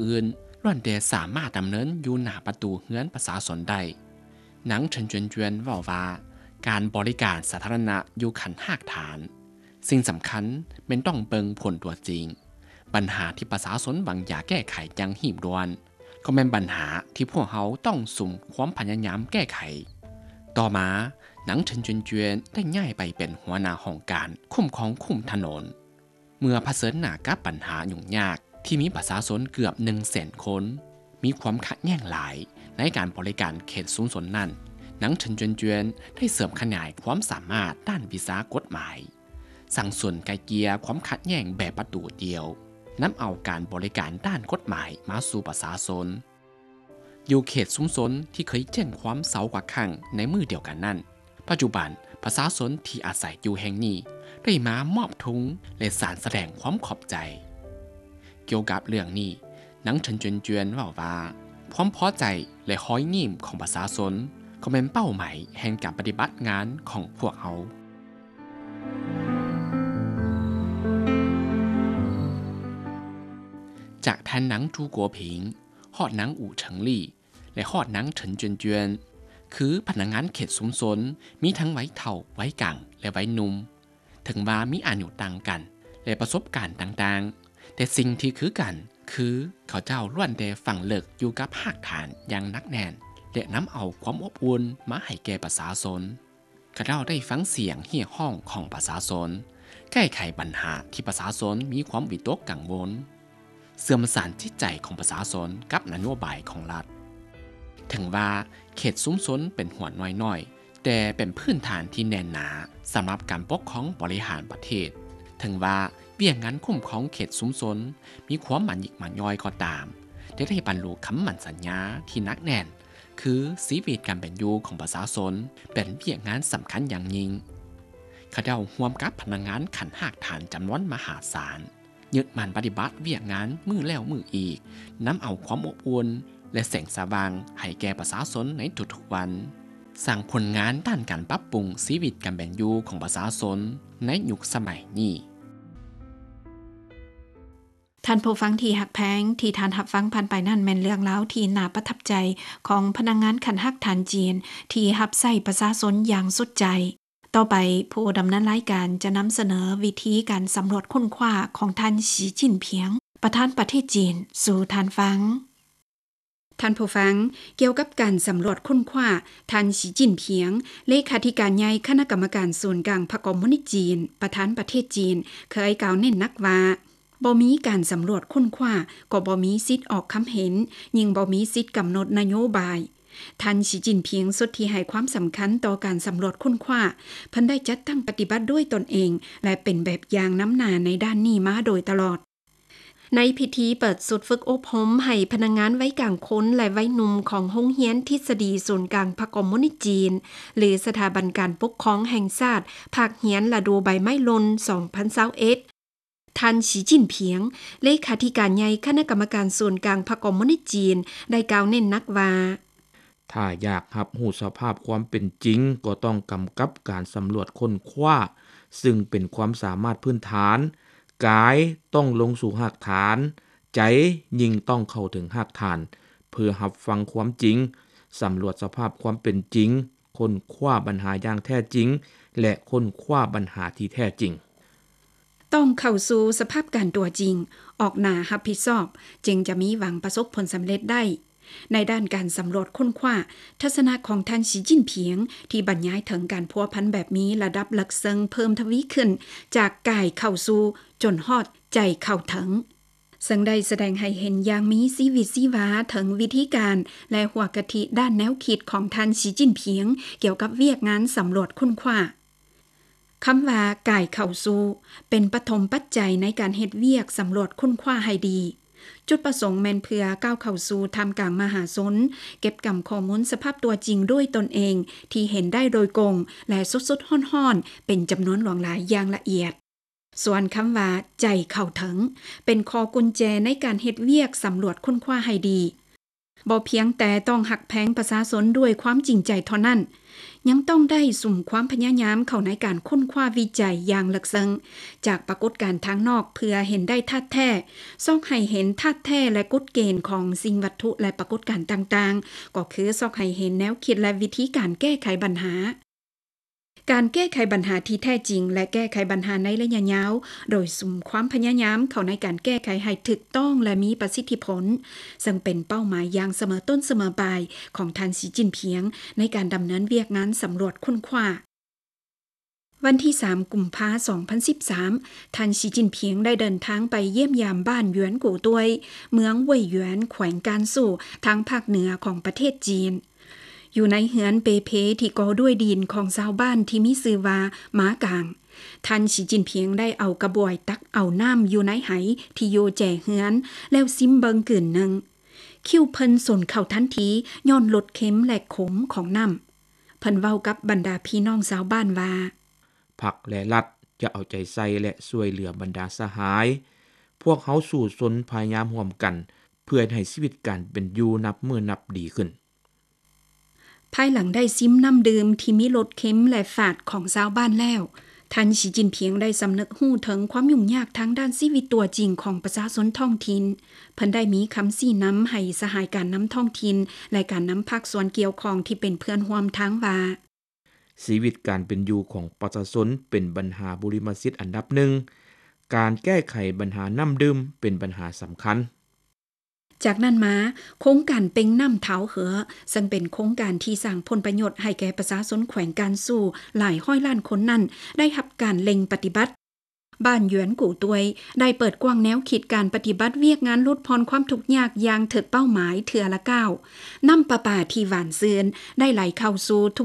ອື່ນ ລ້ວນແຕ່ສາມາດດຳເນີນຢູ່ໜ້າປະຕູເຮືອນປະຊາຊົນໄດ້. ນາງເທີນຈວນຈວນເວົ້າວ່າ ການບໍລິການສາທາລະນະຢູ່ຂັ້ນຮາກຖານ ສິ່ງສຳຄັນແມ່ນຕ້ອງເບິ່ງຜົນຕົວຈິງ. ບັນຫາທີ່ປະຊາຊົນຫວັງຢາກແກ້ໄຂຢ່າງຮີບດ່ວນ ກໍແມ່ນບັນຫາທີ່ພວກເຮົາຕ້ອງສຸມຄວາມພະຍາຍາມແກ້ໄຂ. ຕໍ່ມາ, ນາງເທີນຈວນຈວນໄດ້ຍ້າຍໄປເປັນຫົວໜ້າຫ້ອງການຄຸ້ມຄອງຄຸ້ມຖະໜົນ. ເມື່ອຜະເຊີນໜ້າກັບບັນຫາຫຍຸ້ງຍາກທີ່ມີປະຊາຊົນເກືອບໜຶ່ງແສນຄົນ ມີຄວາມຂັດແຍ່ງຫຼາຍໃນການບໍລິການເຂດຊຸມຊົນນັ້ນ, ນາງເທີນຈວນຈວນໄດ້ເສີມຂະຫຍາຍຄວາມສາມາດດ້ານວິຊາກົດໝາຍ, ສ້າງສູນໄກ່ເກ່ຍຄວາມຂັດແຍ່ງແບບປະຕູດຽວ, ນຳເອົາການບໍລິການດ້ານກົດໝາຍມາສູ່ປະຊາຊົນ. ຢູ່ເຂດຊຸມຊົນທີ່ເຄີຍແຈ້ງຄວາມເຊົາກວ່າຄັ້ງໃນມື້ດຽວກັນນັ້ນ, ປັດຈຸບັນປະຊາຊົນທີ່ອາໄສຢູ່ແຫ່ງນີ້ໄດ້ມາມອບທຸງ ແລະ ສານສະແດງຄວາມຂອບໃຈ. ກ່ຽວກັບເລື່ອງນີ້, ນາງເທີນຈວນຈວນເວົ້າວ່າ ຄວາມພໍໃຈ ແລະ ຮອຍຍິ້ມຂອງປະຊາຊົນ ກໍແມ່ນເປົ້າໝາຍແຫ່ງການປະຕິບັດງານຂອງພວກເຮົາ. ຈາກທ່ານນາງຈູກົວຜິງ ຮອດນາງອູ່ເຖິງລີ້ ແລະ ຮອດນາງເທີນຈວນຈວນ ຄືພະນັກງານເຂດຊຸມຊົນ ມີທັງໄວເຖົ້າ, ໄວກາງ ແລະ ໄວໜຸ່ມ. ເຖິງວ່າມີອາຍຸຕ່າງກັນ ແລະ ປະສົບການຕ່າງໆ, ແຕ່ສິ່ງທີ່ຄືກັນຄື ເຂົາເຈົ້າລ້ວນແຕ່ຝັງເລິກຢູ່ກັບຮາກຖານຢ່າງໜັກແໜ້ນ ແລະ ນຳເອົາຄວາມອົບອຸ່ນມາໃຫ້ແກ່ປະຊາຊົນ. ຂ້າເຈົ້າໄດ້ຟັງສຽງຮຽກຮ້ອງຂອງປະຊາຊົນ, ແກ້ໄຂບັນຫາທີ່ປະຊາຊົນມີຄວາມວິຕົກກັງວົນ, ເຊື່ອມສານຈິດໃຈຂອງປະຊາຊົນກັບນະໂຍບາຍຂອງລັດ. ເຖິງວ່າເຂດຊຸມຊົນເປັນຫົວໜ່ວຍນ້ອຍ, ແຕ່ເປັນພື້ນຖານທີ່ແໜ້ນໜາສຳລັບການປົກຄອງບໍລິຫານປະເທດ. ເຖິງວ່າວຽກງານຄຸ້ມຄອງເຂດຊຸມຊົນມີຄວາມໝານຍິກໝານຍ່ອຍກໍຕາມ, ແຕ່ໄດ້ບັນລຸຄຳໝັ້ນສັນຍາທີ່ໜັກແໜ້ນ ຄືຊີວິດການເປັນຢູ່ຂອງປະຊາຊົນເປັນວຽກງານສຳຄັນຢ່າງຍິ່ງ. ເຂົາເຈົ້າຮ່ວມກັບພະນັກງານຂັ້ນຮາກຖານຈຳນວນມະຫາສານ ຍຶດໝັ້ນປະຕິບັດວຽກງານມື້ແລ້ວມື້ອີກ, ນຳເອົາຄວາມອົບອຸ່ນ ແລະ ແສງສະຫວ່າງໃຫ້ແກ່ປະຊາຊົນໃນທຸກໆວັນ, ສ້າງຜົນງານດ້ານການປັບປຸງຊີວິດການເປັນຢູ່ຂອງປະຊາຊົນໃນຍຸກສະໄໝນີ້. ທ່ານຜູ້ຟັງທີ່ຮັກແພງ, ທີ່ທ່ານຮັບຟັງຜ່ານໄປນັ້ນແມ່ນເລື່ອງລາວທີ່ໜ້າປະທັບໃຈຂອງພະນັກງານຂັ້ນຮາກຖານຈີນ ທີ່ຮັບໃຊ້ປະຊາຊົນຢ່າງສຸດໃຈ. ຕໍ່ໄປ, ຜູ້ດຳເນີນລາຍການຈະນຳສະເໜີວິທີການສຳຫຼວດຄົ້ນຄວ້າຂອງທ່ານ ສີ ຈິ້ນຜິງ ປະທານປະເທດຈີນ ສູ່ທ່ານຟັງ. ທ່ານຜູ້ຟັງ, ກ່ຽວກັບການສຳຫຼວດຄົ້ນຄວ້າ, ທ່ານ ສີ ຈິ້ນຜິງ ເລຂາທິການໃຫຍ່ຄະນະກຳມະການສູນກາງພັກຄອມມູນິດຈີນ ປະທານປະເທດຈີນ ເຄີຍກ່າວເນັ້ນໜັກວ່າ, ບໍ່ມີການສຳຫຼວດຄົ້ນຄວ້າ ກໍບໍ່ມີສິດອອກຄຳເຫັນ, ຍິ່ງບໍ່ມີສິດກຳນົດນະໂຍບາຍ. ທ່ານ ສີ ຈິ້ນຜິງ ສຸດທີ່ໃຫ້ຄວາມສຳຄັນຕໍ່ການສຳຫຼວດຄົ້ນຄວ້າ, ເພິ່ນໄດ້ຈັດຕັ້ງປະຕິບັດດ້ວຍຕົນເອງ ແລະ ເປັນແບບຢ່າງນຳໜ້າໃນດ້ານນີ້ມາໂດຍຕະຫຼອດ. ໃນພິທີເປີດຊຸດຝຶກອົບຮົມໃຫ້ພະນັກງານໄວກາງຄົນ ແລະ ໄວໜຸ່ມຂອງໂຮງຮຽນທິດສະດີສູນກາງພັກຄອມມູນິດຈີນ ຫຼື ສະຖາບັນການປົກຄອງແຫ່ງຊາດ ພາກຮຽນລະດູໃບໄມ້ຫຼົ່ນ ສອງພັນຊາວເອັດ, ທ່ານ ສີ ຈິ້ນຜິງ ເລຂາທິການໃຫຍ່ຄະນະກຳມະການສູນກາງພັກຄອມມູນິດຈີນ ໄດ້ກ່າວເນັ້ນໜັກວ່າ, ຖ້າຢາກຮັບຮູ້ສະພາບຄວາມເປັນຈິງ, ກໍຕ້ອງກຳກັບການສຳຫຼວດຄົ້ນຄວ້າ, ຊຶ່ງເປັນຄວາມສາມາດພື້ນຖານ. ກາຍຕ້ອງລົງສູ່ຮາກຖານ, ໃຈຍິ່ງຕ້ອງເຂົ້າເຖິງຮາກຖານ ເພື່ອຮັບຟັງຄວາມຈິງ, ສຳຫຼວດສະພາບຄວາມເປັນຈິງ, ຄົ້ນຄວ້າບັນຫາຢ່າງແທ້ຈິງ ແລະ ຄົ້ນຄວ້າບັນຫາທີ່ແທ້ຈິງ. ຕ້ອງເຂົ້າສູ່ສະພາບການຕົວຈິງ, ອອກໜ້າຮັບຜິດຊອບ, ຈຶ່ງຈະມີຫວັງປະສົບຜົນສຳເລັດໄດ້. ໃນດ້ານການສຳຫຼວດຄົ້ນຄວ້າ, ທັດສະນະຂອງທ່ານ ສີ ຈິ້ນຜິງ ທີ່ບັນຍາຍເຖິງການພົວພັນແບບມີລະດັບເລິກເຊິ່ງເພີ່ມທະວີຂຶ້ນ ຈາກກາຍເຂົ້າສູ່ ຈົນຮອດໃຈເຂົ້າເຖິງ, ເຊິ່ງໄດ້ສະແດງໃຫ້ເຫັນຢ່າງມີຊີວິດຊີວາເຖິງວິທີການ ແລະ ຫົວກະທິດ້ານແນວຄິດຂອງທ່ານ ສີ ຈິ້ນຜິງ ກ່ຽວກັບວຽກງານສຳຫຼວດຄົ້ນຄວ້າ. ຄຳວ່າກາຍເຂົ້າສູ່ ເປັນປະຖົມປັດໄຈໃນການເຮັດວຽກສຳຫຼວດຄົ້ນຄວ້າໃຫ້ດີ. ຈຸດປະສົງແມ່ນເພື່ອກ້າວເຂົ້າສູ່ທ່າມກາງມະຫາຊົນ, ເກັບກຳຂໍ້ມູນສະພາບຕົວຈິງດ້ວຍຕົນເອງ ທີ່ເຫັນໄດ້ໂດຍກົງ ແລະ ສົດໆຮ້ອນໆ ເປັນຈຳນວນຫຼວງຫຼາຍຢ່າງລະອຽດ. ສ່ວນຄຳວ່າໃຈເຂົ້າເຖິງ ເປັນຂໍ້ກຸນແຈໃນການເຮັດວຽກສຳຫຼວດຄົ້ນຄວ້າໃຫ້ດີ. ບໍ່ພຽງແຕ່ຕ້ອງຮັກແພງປະຊາຊົນດ້ວຍຄວາມຈິງໃຈເທົ່ານັ້ນ, ຍັງຕ້ອງໄດ້ສຸມຄວາມພະຍາຍາມເຂົ້າໃນການຄົ້ນຄວ້າວິໄຈຢ່າງເລິກເຊິ່ງ ຈາກປາກົດການທາງນອກເພື່ອເຫັນໄດ້ທາດແທ້, ຊອກໃຫ້ເຫັນທາດແທ້ ແລະ ກົດເກນຂອງສິ່ງວັດຖຸ ແລະ ປາກົດການຕ່າງໆ, ກໍຄືຊອກໃຫ້ເຫັນແນວຄິດ ແລະ ວິທີການແກ້ໄຂບັນຫາ. ການແກ້ໄຂບັນຫາທີ່ແທ້ຈິງ ແລະ ແກ້ໄຂບັນຫາໃນໄລຍະຍາວ ໂດຍສຸມຄວາມພະຍາຍາມເຂົ້າໃນການແກ້ໄຂໃຫ້ຖືກຕ້ອງ ແລະ ມີປະສິດທິຜົນ, ເຊິ່ງເປັນເປົ້າໝາຍຢ່າງສະເໝີຕົ້ນສະເໝີປາຍຂອງທ່ານ ສີ ຈິ້ນຜິງ ໃນການດຳເນີນວຽກງານສຳຫຼວດຄົ້ນຄວ້າ. ວັນທີສາມ ກຸມພາ ສອງພັນສິບສາມ, ທ່ານ ສີ ຈິ້ນຜິງ ໄດ້ເດີນທາງໄປຢ້ຽມຢາມບ້ານຢວນກູຕວຍ, ເມືອງເຫວີຍຢວນ, ແຂວງການຊູ່, ທາງພາກເໜືອຂອງປະເທດຈີນ. ຢູ່ໃນເຮືອນເປເພທີ່ກໍ່ດ້ວຍດິນຂອງຊາວບ້ານທີ່ມີຊື່ວ່າ ໝາກາງ, ທ່ານ ສີ ຈິ້ນຜິງ ໄດ້ເອົາກະບວຍຕັກເອົານ້ຳຢູ່ໃນໄຫທີ່ຢູ່ແຈເຮືອນ ແລ້ວຊິມເບິ່ງກືນໜຶ່ງ. ຄິ້ວເພິ່ນສົນເຂົ້າທັນທີ ຍ້ອນລົດເຄັມ ແລະ ຂົມຂອງນ້ຳ. ເພິ່ນເວົ້າກັບບັນດາພີ່ນ້ອງຊາວບ້ານວ່າ ພັກ ແລະ ລັດ ຈະເອົາໃຈໃສ່ ແລະ ຊ່ວຍເຫຼືອບັນດາສະຫາຍ. ພວກເຮົາສູ້ຊົນພະຍາຍາມຮ່ວມກັນ ເພື່ອເຮັດໃຫ້ຊີວິດການເປັນຢູ່ນັບມື້ນັບດີຂຶ້ນ. ພາຍຫຼັງໄດ້ຊິມນ້ຳດື່ມທີ່ມີລົດເຄັມ ແລະ ຝາດຂອງຊາວບ້ານແລ້ວ, ທ່ານ ສີ ຈິ້ນຜິງ ໄດ້ສຳນຶກຮູ້ເຖິງຄວາມຫຍຸ້ງຍາກທາງດ້ານຊີວິດຕົວຈິງຂອງປະຊາຊົນທ້ອງຖິ່ນ. ເພິ່ນໄດ້ມີຄຳຊີ້ນຳໃຫ້ສະຫາຍການນຳທ້ອງຖິ່ນ ແລະ ການນຳພາກສ່ວນກ່ຽວຂ້ອງທີ່ເປັນເພື່ອນຮ່ວມທາງວ່າ ຊີວິດການເປັນຢູ່ຂອງປະຊາຊົນເປັນບັນຫາບຸລິມະສິດອັນດັບໜຶ່ງ, ການແກ້ໄຂບັນຫານ້ຳດື່ມເປັນບັນຫາສຳຄັນ. ຈາກນັ້ນມາ, ໂຄງການເປັ່ງນ້ຳທ້າວເຫີອ ເຊິ່ງເປັນໂຄງການທີ່ສ້າງຜົນປະໂຫຍດໃຫ້ແກ່ປະຊາຊົນແຂວງການຊູ່ຫຼາຍຮ້ອຍລ້ານຄົນນັ້ນ ໄດ້ຮັບການເລັ່ງປະຕິບັດ. ບ້ານຢວນກູຕວຍ ໄດ້ເປີດກວ້າງແນວຄິດການປະຕິບັດວຽກງານຫຼຸດຜ່ອນຄວາມທຸກຍາກຢ່າງຖືກເປົ້າໝາຍເທື່ອລະກ້າວ. ນ້ຳປະປາທີ່ຫວານຊື່ນໄດ້ໄຫຼເຂົ້າສູ່ທຸກ